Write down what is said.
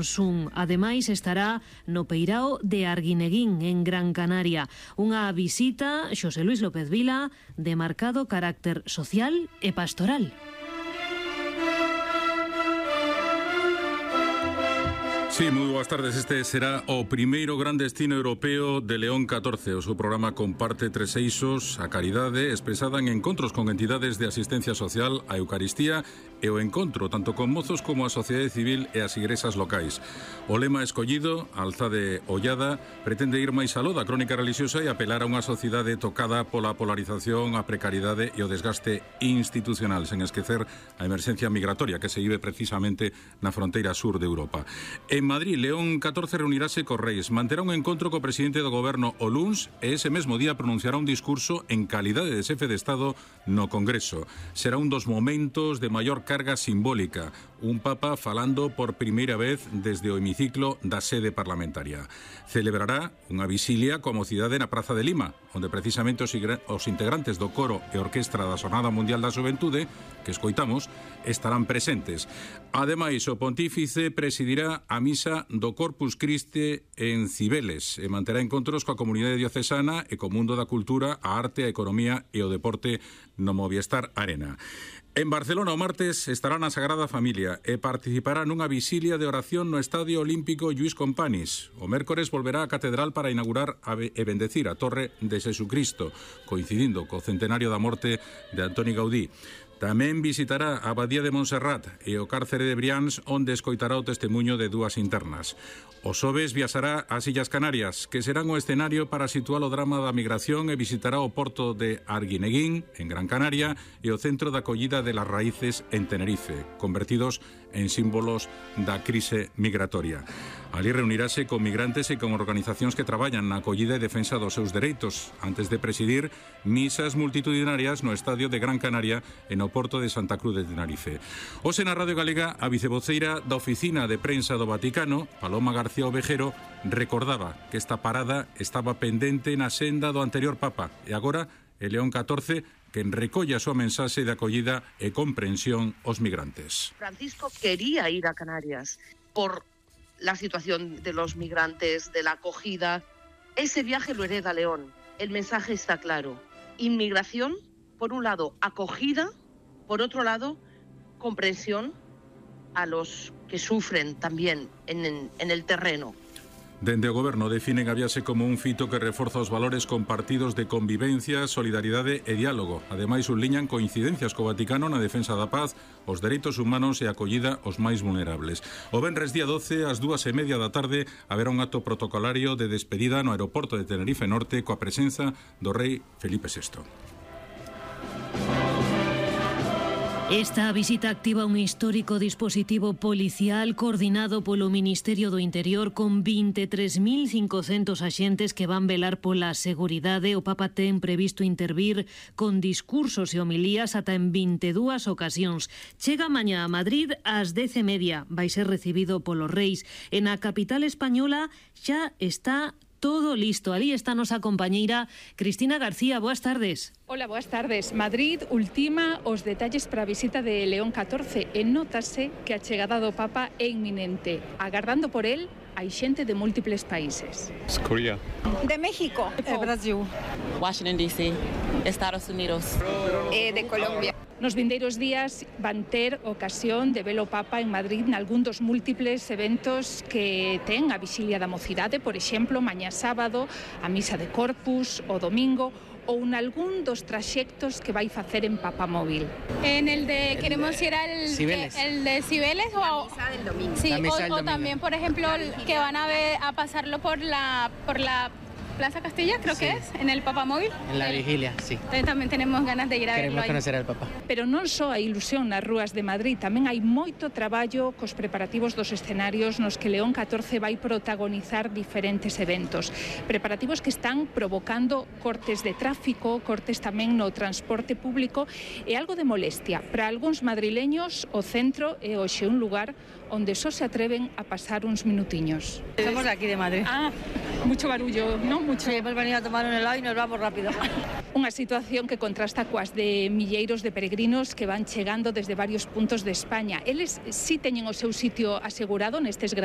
Sun. Ademais, estará no Peirao de Arguineguín, en Gran Canaria. Unha visita, Xosé Luis López Vila, de marcado carácter social e pastoral. Sí, moi boas tardes. Este será o primeiro gran destino europeo de León 14. O seu programa comparte tres eixos: a caridade, expresada en encontros con entidades de asistencia social, a Eucaristía e o encontro tanto con mozos como a sociedade civil e as igrexas locais. O lema escollido, Alzade Ollada, pretende ir máis aló da crónica religiosa e apelar a unha sociedade tocada pola polarización, a precariedade e o desgaste institucional, sen esquecer a emerxencia migratoria que se vive precisamente na fronteira sur de Europa. En Madrid, León 14 reunirase co Reis, manterá un encontro co presidente do goberno o luns e ese mesmo día pronunciará un discurso en calidade de xefe de Estado no Congreso. Será un dos momentos de maior carga simbólica, un papa falando por primeira vez desde o hemiciclo da sede parlamentaria. Celebrará unha visilia coa mocidade na Praza de Lima, onde precisamente os integrantes do coro e orquestra da Xornada Mundial da Xuventude, que escoitamos, estarán presentes. Ademais, o pontífice presidirá a misa do Corpus Christi en Cibeles e manterá encontros coa comunidade diocesana e co mundo da cultura, a arte, a economía e o deporte no Movistar Arena. En Barcelona o martes estará na Sagrada Familia e participará nunha visilia de oración no Estadio Olímpico Lluís Companys. O mércores volverá á catedral para inaugurar e bendecir a Torre de Xesucristo, coincidindo co centenario da morte de Antoni Gaudí. Tamén visitará a Abadía de Montserrat e o cárcere de Brians, onde escoitará o testemunho de dúas internas. O xoves viaxará ás Illas Canarias, que serán o escenario para situar o drama da migración, e visitará o porto de Arguineguín, en Gran Canaria, e o centro de acollida de las Raíces en Tenerife, convertidos en símbolos da crise migratoria. Ali reunirase con migrantes e con organizacións que traballan na acollida e defensa dos seus dereitos, antes de presidir misas multitudinarias no Estadio de Gran Canaria e no porto de Santa Cruz de Tenerife. Hoxe na Radio Galega, a vicevoceira da Oficina de Prensa do Vaticano, Paloma García Ovejero, recordaba que esta parada estaba pendente na senda do anterior Papa e agora é León 14 quen recolle a súa mensaxe de acollida e comprensión aos migrantes. Francisco quería ir a Canarias por la situación de los migrantes, de la acogida. Ese viaje lo hereda León. El mensaje está claro. Inmigración, por un lado, acogida, por otro lado, comprensión a los que sufren también en el terreno. Dende o Goberno definen a viaxe como un fito que reforza os valores compartidos de convivencia, solidaridade e diálogo. Ademais, subliñan coincidencias co Vaticano na defensa da paz, os dereitos humanos e a acollida aos máis vulnerables. O venres día 12, ás 2:30 da tarde, haberá un acto protocolario de despedida no aeroporto de Tenerife Norte coa presenza do rei Felipe VI. Esta visita activa un histórico dispositivo policial coordinado polo Ministerio do Interior con 23.500 axentes que van velar pola seguridade. O Papa ten previsto intervir con discursos e homilías ata en 22 ocasións. Chega mañá a Madrid ás 10:30. Vai ser recibido polos reis. En a capital española xa está todo listo. Alí está nosa compañeira Cristina García. Boas tardes. Hola, boas tardes. Madrid ultima os detalles para a visita de León 14 e nótase que a chegada do Papa é inminente. Agardando por él, hai xente de múltiples países. Corea. De México. Brasil. Washington, D.C., Estados Unidos. De Colombia. Nos vindeiros días van ter ocasión de ver o Papa en Madrid nalgún dos múltiples eventos que ten a Visilia da Mocidade, por exemplo, mañá sábado, a Misa de Corpus, o domingo, ou nalgún dos traxectos que vai facer en Papamóvil. En el de queremos ir al Cibeles. El de Cibeles o Misa del domingo. sí, o también por ejemplo que van a pasarlo por la Plaza Castilla, creo que es, en el Papamóvil. En la vigilia, sí. Entonces también tenemos ganas de ir a verlo Queremos ahí. conocer al Papa. Pero non só a ilusión nas rúas de Madrid, tamén hai moito traballo cos preparativos dos escenarios nos que León 14 vai protagonizar diferentes eventos. Preparativos que están provocando cortes de tráfico, cortes tamén no transporte público e algo de molestia. Para algúns madrileños, o centro é hoxe un lugar onde só se atreven a pasar uns minutiños. Somos de aquí de Madrid. Mucho barullo, ¿no? Mucho. Sí, hemos venido a tomar un helado y nos vamos rápido. Unha situación que contrasta coas de milleiros de peregrinos que van chegando desde varios puntos de España. Eles sí teñen o seu sitio asegurado nestes grandes